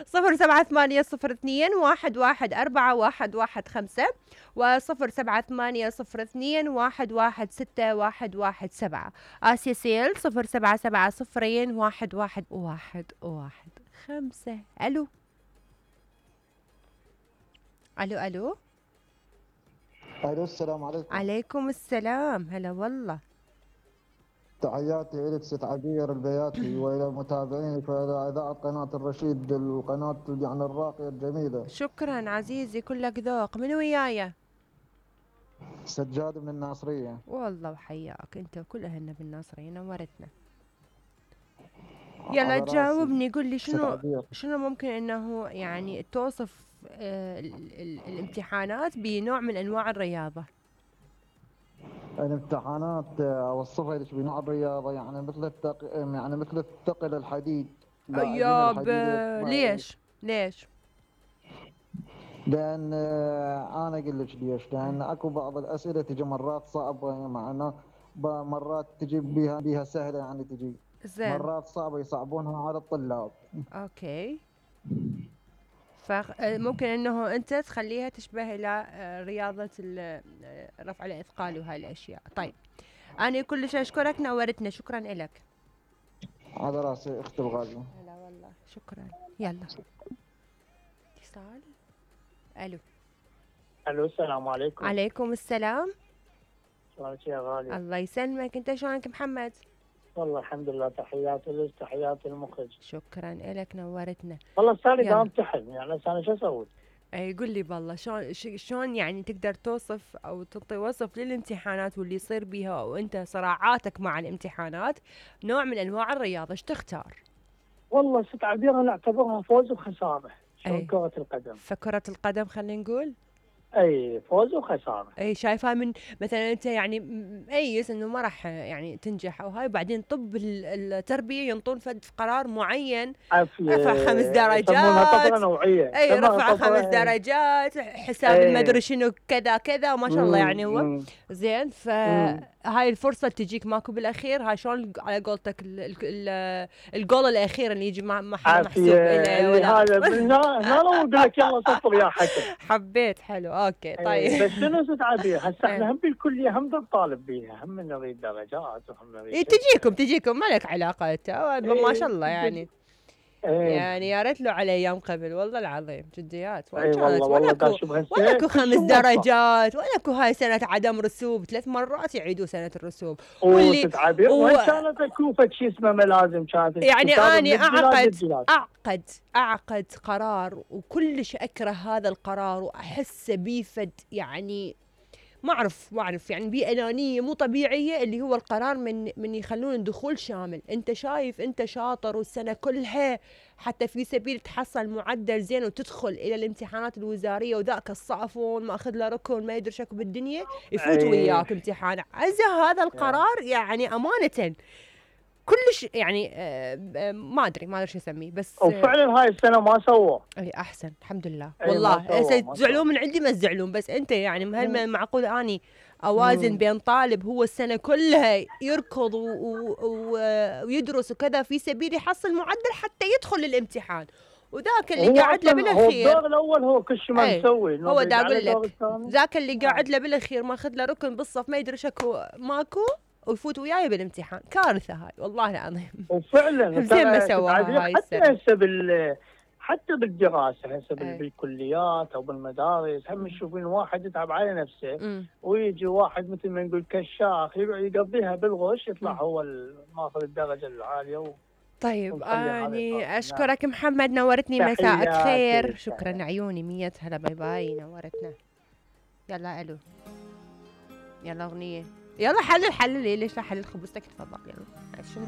078021141115 و078021161117. آسيا سيل 0770211115. ألو ألو ألو. الو السلام عليكم. عليكم السلام. هلا والله. تحياتي لك ست عبير البياتي والى متابعينك والى اذاعه قناه الرشيد، القناه يعني الراقيه الجميله. شكرا عزيزي، كلك ذوق. من ويايا؟ سجاد من الناصريه. والله وحياك انت وكل اهلنا بالناصريه، نورتنا. يلا جاوبني، قل لي شنو ممكن انه يعني توصف الامتحانات بنوع من انواع الرياضه. الامتحانات اوصفها لك بنوع الرياضه، يعني مثل الثقل الحديد، لاعبين ياب الحديد. ليش؟ لان انا اقول لك ليش، لان اكو بعض الاسئله تجي مرات صعبه، معنا مرات تجي بها سهله، يعني تجي زين. مرات صعبه يصعبونها على الطلاب. اوكي. فممكن انه انت تخليها تشبه الى رياضه رفع الاثقال وهاي الاشياء. طيب انا كلش اشكرك، نورتنا، شكرا لك. على راسي اختي الغاليه. هلا والله، شكرا. يلا اتصال. الو الو السلام عليكم. عليكم السلام. شلونك يا غالي؟ الله يسلمك، انت شلونك محمد؟ والله الحمد لله، تحياتي لك، تحياتي المخرج. شكرا لك، نورتنا. والله صار لي امتحن، يعني انا شو اسوي؟ اي قل لي بالله، شلون يعني تقدر توصف او تعطي وصف للامتحانات واللي يصير بيها، وانت صراعاتك مع الامتحانات نوع من انواع الرياضه، ايش تختار؟ والله ست عبير انا اعتبرها فوز وخساره، شلون كرة القدم. فكرة القدم خلينا نقول اي فوز وخساره. اي شايفها من مثلا انت يعني مؤيس انه ما راح يعني تنجح او هاي، وبعدين طب التربيه ينطون فد قرار معين، رفع 5 درجات، يسمونها طفره نوعيه. اي رفع 5 درجات، حساب المدري شنو كذا كذا، وما شاء الله يعني هو زين. فهاي الفرصه تجيك ماكو بالاخير. هاي شلون على قولتك الجول الاخير اللي يجي محسوب له هذا هنا لو اقول لك يلا صفر يا حكم. حبيت، حلو، اوكي طيب. بس شنو ست عبير، هسه احنا هم بالكليه هم نطالب بيها، هم نريد درجات وهم نريد تجيكم ما لك علاقه انت، ما شاء الله يعني. يعني يا ريت له على ايام قبل، والله العظيم جديات. والله ولاكو 5 درجات، ولاكو هاي سنه عدم رسوب، 3 مرات يعيدوا سنه الرسوب. واللي تعبير وين كانت اكوفه شيء اسمه ملازم كانت، يعني اني اعقد قرار وكلش اكره هذا القرار واحسه بيفد، يعني ما اعرف يعني بأنانية مو طبيعية، اللي هو القرار من يخلون الدخول شامل. انت شايف انت شاطر والسنة كلها حتى في سبيل تحصل معدل زين وتدخل الى الامتحانات الوزارية، وذاك الصافون ما اخذ له ركن ما يدري شكو بالدنيا يفوت وياك امتحان. هذا القرار يعني امانة كلش يعني ما ادري شو اسميه، بس وفعلا هاي السنه ما سووا. اي احسن الحمد لله. والله تزعلون من عندي ما تزعلون، بس انت يعني هل معقول اني اوازن بين طالب هو السنه كلها يركض ويدرس وكذا في سبيل يحصل معدل حتى يدخل للامتحان، وذاك اللي قاعد له بالاخير، هو الدور الاول هو كل شيء ما مسوي، هو دا اقول لك ذاك اللي قاعد له بالاخير ماخذ له ركن بالصف ما يدري شكو ماكو ويفوت وياي بالامتحان. كارثه هاي والله العظيم. وفعلا زين ما سواها هاي السنه. حتى بالدراسه هسه بالكليات او بالمدارس هم تشوفين واحد يتعب على نفسه ويجي واحد مثل ما نقول كشاخ يقضيها بالغش يطلع هو ماخذ الدرجه العاليه. طيب اني اشكرك محمد، نورتني، مساءك خير. شكرا عيوني، 100 هلا، باي باي، نورتنا. يلا الو، يلا اغنيه، يلا حلل ليش لا حلل خبزتك، تفضل. يلا شنو